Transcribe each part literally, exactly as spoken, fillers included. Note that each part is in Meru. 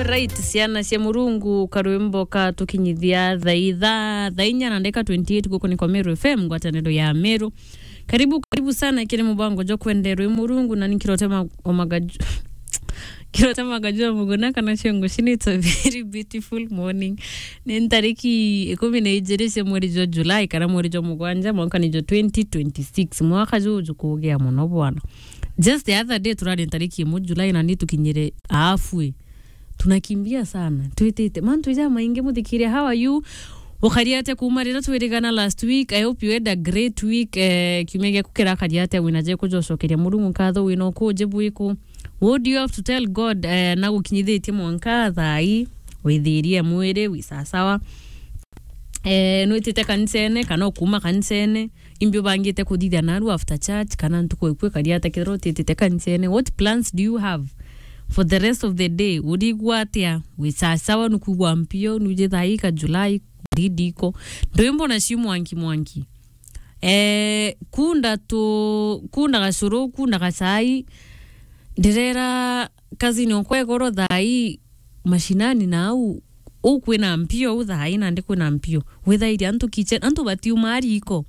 Right, ciana cia Murungu, karwimbo ka tukinyithia thaa itha, thaa inya na ndeka twenty-eight guku ni kwa Meru F M, ngwataniro ya Meru. Karibu, karibu sana kiri mubango jwa kwenderwa i Murungu, na ni Kirotema Omagaju-, Kirotema Magajua Muguna kana ciongo cini, it's a very beautiful morning. Ni ntariki ikumi na ijiri cia mweri jwa July kana mweri jwa mugwanja, mwaka ni jwa twenty twenty-six. Mwaka juju kugia muno bwana. Just the other day turari ntariki imwe July na ni tukinyire halfway. Tunakimbia sana. Twitite. Mantu ja maingi muthikiria, how are you? Ukari atia kuuma riria twirigana last week? I hope you had a great week. Eh, kiumia giaku kirakari atia? Wina ja kujocokeria Murungu nkatho, wina ukuji bwiku? What do you have to tell God, eh, na gukinyithitie mwanka thaa ii? Withirie mwiri, wi sasawa? Eh, nwitite kanisene, kana ukuuma kanisene? Imbi ubangite kuthithia naru after church, kana ntuku eku ikari atia kethirwa utitite kanisene? What plans do you have for the rest of the day? Urigua atia? Wi sasawa? Nukwigua mpio? Nuje thaa ii ka July, ndidiko. Ndwimbo nacio mwanki mwanki. Eh, kunda tu, kunda gacuru, kunda gacai. Ndirera cousin okwa igoro thaa ii mashinani na au, u kwina mpio, u thaa ii nandi kwina mpio. Withairia antu kitchen, antu batiuma riko.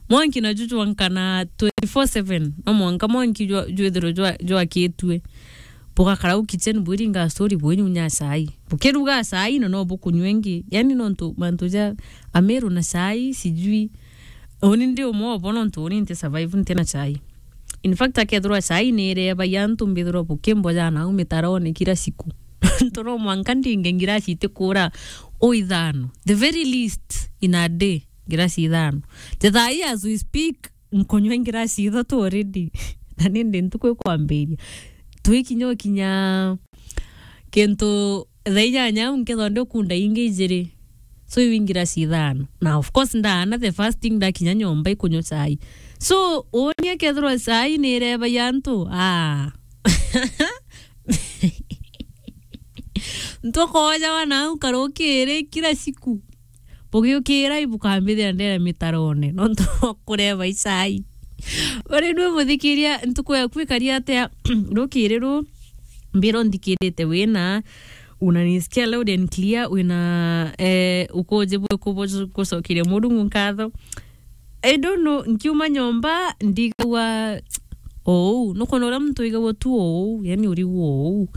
Mwanki na juju jwankana twenty-four seven, no mwanka mwanki jwa-, jwithirwe jwa-, jwakitue. Bugakara u kitchen bwiringa story bwinyunya cai. Bukiruga cai na no bukunywa ingi. Yani nontu mantu ja Ameru na cai, sijui. Uni ndi umwe obo nontu uni nti survive nti na cai. In fact, akethirwa cai ni irebagia antu mbithirwa bukimboja na au mitarone kila siku. Ntu no mwanka ndinge ngirasi itikura o ithano. The very least in a day, ngirasi ithano. Te thaa ii as we speak, nkunywa ngirasi ithatu already. Na nindi ntuku ikwambiria. Twikinya ukinya kintu thaa inyanya au nkethwa ndi ukunda ingi ijiri. So iu ingirasi ithano. Na of course ndaana the first thing ndakinya nyomba ikunywa cai. So uuni akethirwa cai ni irebagia antu. Ah. Ntukoja wana au karukiri kila siku. Bugiukira ibukambithira ndere mitarone, nontu kureba icai. Bari nwe muthikiria, ntuku yaku ikari atia? Rukiri ru, mbira nthikirite wina, unanisikia loud and clear, wina, eh, ukuji bwiku bu-, gucokeria Murungu nkatho. I don't know, nkiuma nyomba, ndigagua oou. Nukwona uria muntu wigagua tu oou, yani urigua oou.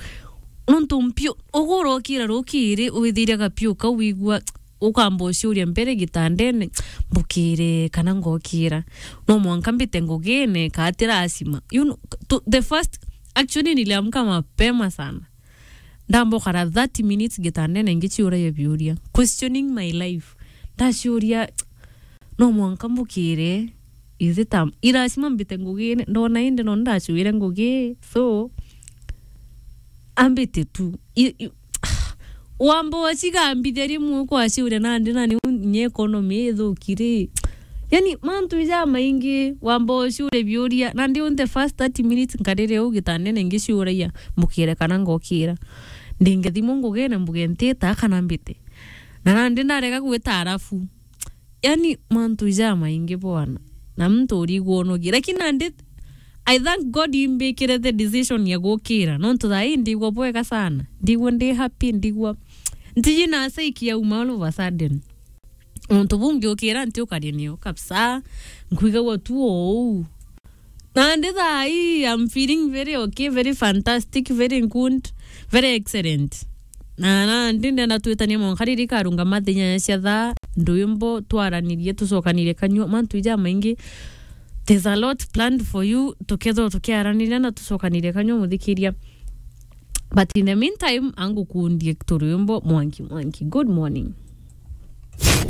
Nontu mpio, ugurokira rukiri, withiria gapio kau wigua, ukamba uciuria mbere gitandene, mbukire kana ngokira. No mwanka mbite ngugine, ka ti lazima. You know, to, the first, actually niliamka mapema sana. Ndamba ukara thirty minutes gitandene ngiciuragia biuria. Questioning my life. Ndaciuria, no mwanka mbukire, is it a, i lazima mbite ngugine? Ndona indi no ndacuire ngugi. So, ambite tu. I, i, wamba ucigambithia rimwe ukwaciuria nandi na niu nye economy ithuki ri. Yani, mantu ija maingi, wamba uciuria biuria, nandi u the first thirty minutes nkarire u gitandene ngiciuragia, mbukire kana ngokira. Ndingethimwa ngugine mbuge ntita kana mbite. Na nandi ndarega gwita arafu. Yani, mantu ija maingi bwana. Na muntu urigwa unogie. Lakini nandi, I thank God imbikire the decision ya gukira. Nontu thaa ii ndigwa bwega sana. Ndigwa ndi happy, ndigwa. Ntiji na saiki yauma all of a sudden. Untu bungi ukira nti ukari nio kabisa. Nkwigagua tu oou. Nandi thaa ii, I'm feeling very okay, very fantastic, very good, very excellent. Na nandi ndenda twitanie mwanka riri karungama thaa inyanya cia thaa, ndwimbo, twaranirie, tucokanirie kanyua, mantu ija maingi. There's a lot planned for you, tukethirwa tukiaraniria na tucokanirie kanyua muthikiria. But in the meantime, angukundie turwimbo mwanki mwanki. Good morning.